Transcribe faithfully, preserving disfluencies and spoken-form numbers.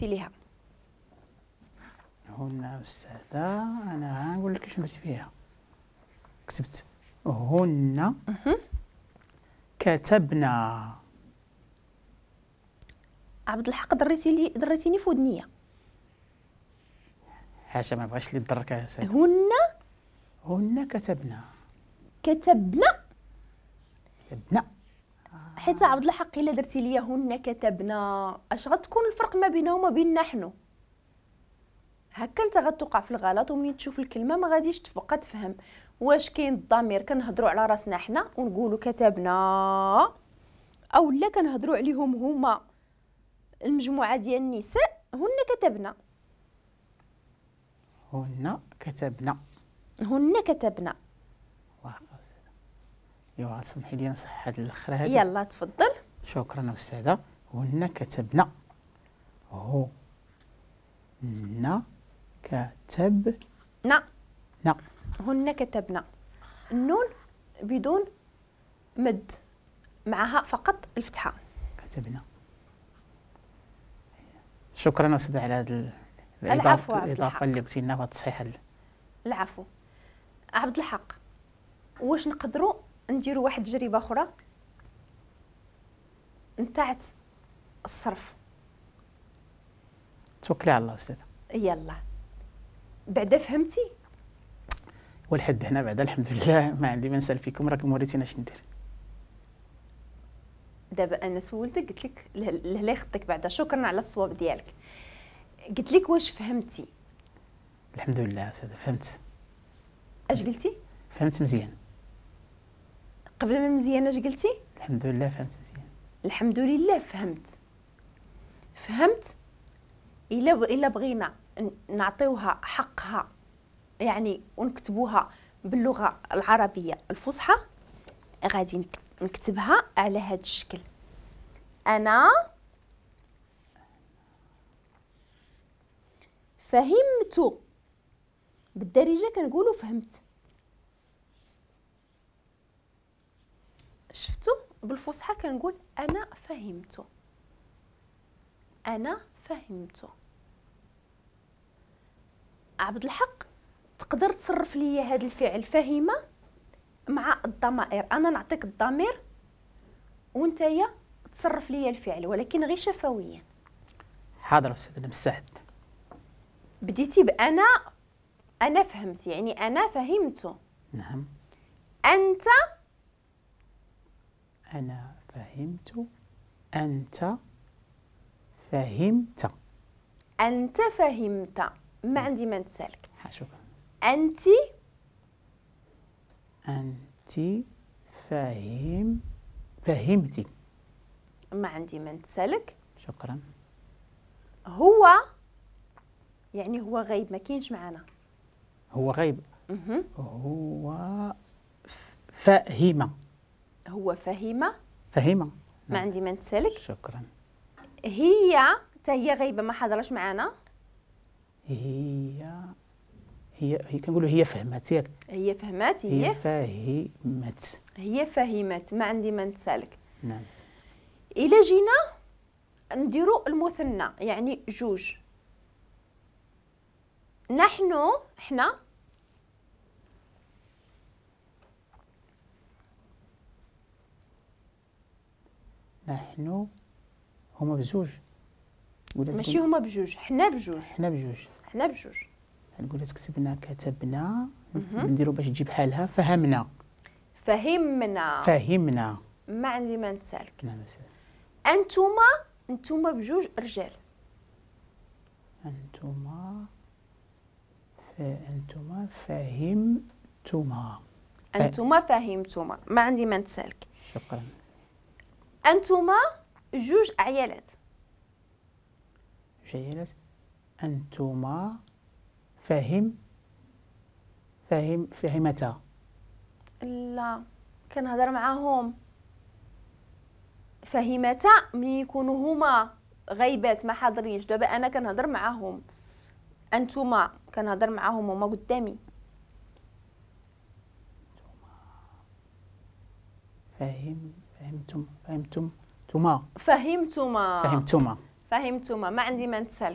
ليها؟ هن أستاذة أنا غنقول لك شنو درت فيها. كتبت هن كتبنا. عبد الحق دريتي لي دريتيني في ودنيه. حاشا ما بغاش اللي تضرك يا أستاذة. هن هن كتبنا. كتبنا كتبنا حيت عبد الحق الا درتي لي هن كتبنا اش غتكون الفرق ما بينها وما بين نحن؟ هكا انت غتوقع في الغلط، ومنين تشوف الكلمة ما غاديش تبقى تفهم واش كاين الضمير. كنهضروا على راسنا حنا ونقولوا كتبنا، او لا كنهضروا عليهم هما المجموعة ديال النساء هن كتبنا. هن كتبنا. هن كتبنا. واخا أستاذة. ايوا تسمحي لي نصحح هاد الاخر هادي. يلا تفضل. شكرا أستاذة. هن كتبنا. هو ن كتب نا نا. هن كتبنا. النون بدون مد، معها فقط الفتحة. كتبنا. شكرا أستاذة على هذا العفو الإضافة اللي قلتي لنا والتصحيح. العفو عبد الحق. واش نقدروا نديروا واحد التجربة أخرى نتاعت الصرف؟ توكلي على الله أستاذة. يلا بعدا فهمتي؟ والحد هنا بعدا الحمد لله ما عندي ما نسال فيكم، راكم وريتينا اش ندير. دابا انا سولتك قلت لك لا يخطيك بعدا. شكرا على الصواب ديالك. قلت لك واش فهمتي؟ الحمد لله أستاذة فهمت. اش قلتي؟ فهمت مزيان. قبل ما مزيان اش قلتي؟ الحمد لله فهمت مزيان. الحمد لله فهمت. فهمت. الا الا بغينا نعطيوها حقها يعني ونكتبوها باللغة العربية الفصحى غادي نكتبها على هذا الشكل. انا فهمت، بالدارجة كنقولوا فهمت. شفتوا؟ بالفصحى كنقول انا فهمت. انا فهمت. عبد الحق تقدر تصرف لي هذا الفعل فهم مع الضمائر. انا نعطيك الضمير وانتيا تصرف لي الفعل، ولكن غير شفويا. حاضر استاذ، انا مستعد. بديتي بانا انا فهمت، يعني انا فهمت. نعم. انت انا فهمت، انت فهمت. انت فهمت، ما عندي ما نتسالك. شكرا. انت انت فهم فهمتي، ما عندي ما نتسالك. شكرا. هو يعني هو غايب، ما كاينش معنا. هو غايب. هو فهم. هو فهم. فهم، ما عندي ما نتسالك. شكرا. هي حتى هي غايبة، ما حضرش معنا. هي هي هي كنقولوا هي فهمت، ياك؟ هي فهمت. هي فهمت. هي فهمت، ما عندي ما نتسالك. نعم. الا جينا نديرو المثنى يعني جوج. نحن حنا نحن هما بجوج ولا ماشي هما بجوج؟ حنا بجوج. حنا بجوج. حنا بجوج. نقول كتبنا كتبنا، نديرو باش تجي بحالها فهمنا. فهمنا. فهمنا، ما عندي ما نتسالك. نعم. انتوما انتوما بجوج رجال. انتوما ف... انتوما فهمتما. انتوما فهمتما، ما عندي ما نتسالك. شكرا. انتوما جوج عيالات. جوج عيالات. انتوما فهم فهم فهمتا. لا كنهضر معاهم. فهمتا ملي يكونوا هما غايبات ما حاضرينش. دابا انا كنهضر معاهم، انتوما كنهضر معاهم هما قدامي. فهم فهمتم فهمتم تما فهمتما. فهمتما. فهمتوما؟ ما عندي ما نتسالك.